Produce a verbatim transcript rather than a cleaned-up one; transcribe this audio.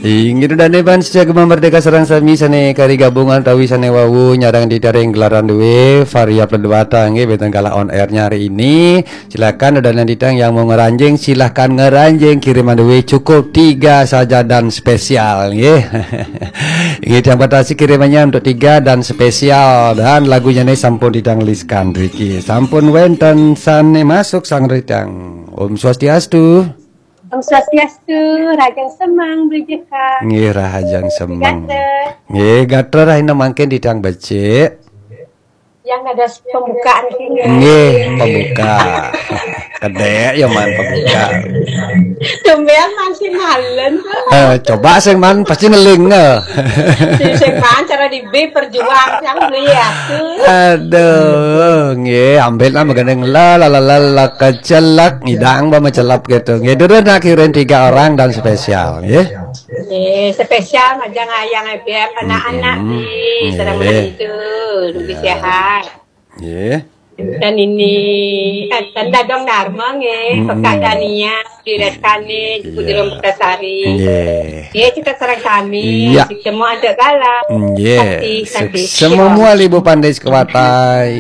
Inggih, Ida dané bangsa Gema Merdeka sareng sami sané kari gabungan utawi sané wau nyarengin titiang ring gelaran dué Varia Pledwata nggih, wénten galah on air-nya hari ini. Silakan Ida dané titiang yang mau ngranjing, silakan ngranjing, kiriman dué cukup tiga saja dan spesial nggih. Inggih, titiang batasi kirimannya untuk tiga dan spesial, dan lagunya nih sampun titiang liskan mriki. Sampun wénten sané masuk sareng titiang. Om Swastiastu. Om Swastiastu, rahajeng semeng, Beli Jekang. Nggih, rahajeng semeng. Gatra. Nggih, gatra rahina mangkin titiang becik. Yang ada pembukaan ini. Nggih, pembuka. Kedék ya man pembuka. Tumben masih malen. Eh, coba sing man pasti neling, eh. Si sing man cara di B perjuang yang beli aku. Aduh, nggih, ambil nama gendeng la la la la la kecelak, ngidang ba mecelap gitu. Nggih, durus nak kirim tiga orang dan spesial, nggih. Nggih, spesial majeng ayang F B M, anak-anak Mm-mm. Di sareng Nggih. Itu lebih Ya. Sehat. Nggih. Dan ini eh, tanda dong Dharma nggih, Mm-mm. Kakak Dania, di Reskani, Iya. Putri Putasari. Nggih. Nggih, kita sareng sami, Iya. Semua ada galah. Nggih. Sakti, Sek- sakti. Semua ibu pandai sekawatai.